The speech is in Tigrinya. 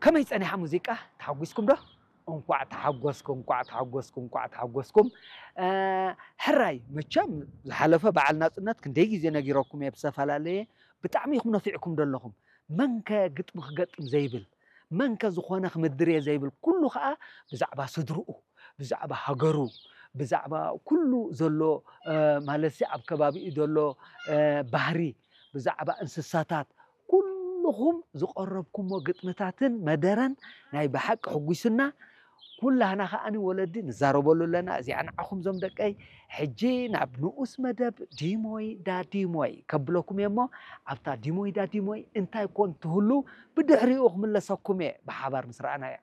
ከመይ ጸኒሓ ሙዚቃ? ተሓጒስኩም ዶ? እንቋዕ ተሓጎስኩም፣ እንቋዕ ተሓጎስኩም፣ እንቋዕ ተሓጎስኩም። ሕራይ መቸም ዝሓለፈ በዓል ናጽነት ክንደይ ግዜ ነጊረኩም እየ ብዝተፈላለየ። ብጣዕሚ ኢኹም ነፊዕኩም ዘለኹም። መንከ ግጥሚ ክገጥም ዘይብል፣ መንከ ዝኾነ ክምድር እየ ዘይብል፣ ኩሉ ኸኣ ብዛዕባ ስድርኡ፣ ብዛዕባ ሃገሩ፣ ብዛዕባ ኩሉ ዘሎ ማለትሲ ኣብ ከባቢኡ ዘሎ ባህሪ፣ ብዛዕባ እንስሳታት፣ ኩልኹም ዝቐረብኩሞ ግጥምታትን መደረን ናይ ብሓቂ ሕጒሱና። ኩላህና ከኣኒ ወለዲ ንዛረበሉ ኣለና። እዚኣ ንዓኹም ዞም ደቀይ ሕጂ ናብ ንኡስ መደብ ዲሞይ ዳዲሞይ ከብለኩም እየ እሞ ኣብታ ዲሞይ ዳዲሞይ እንታይ ኮን ትህሉ ብድሕሪኡ ክምለሰኩም እየ ብሓባር ምስ ረኣናያ።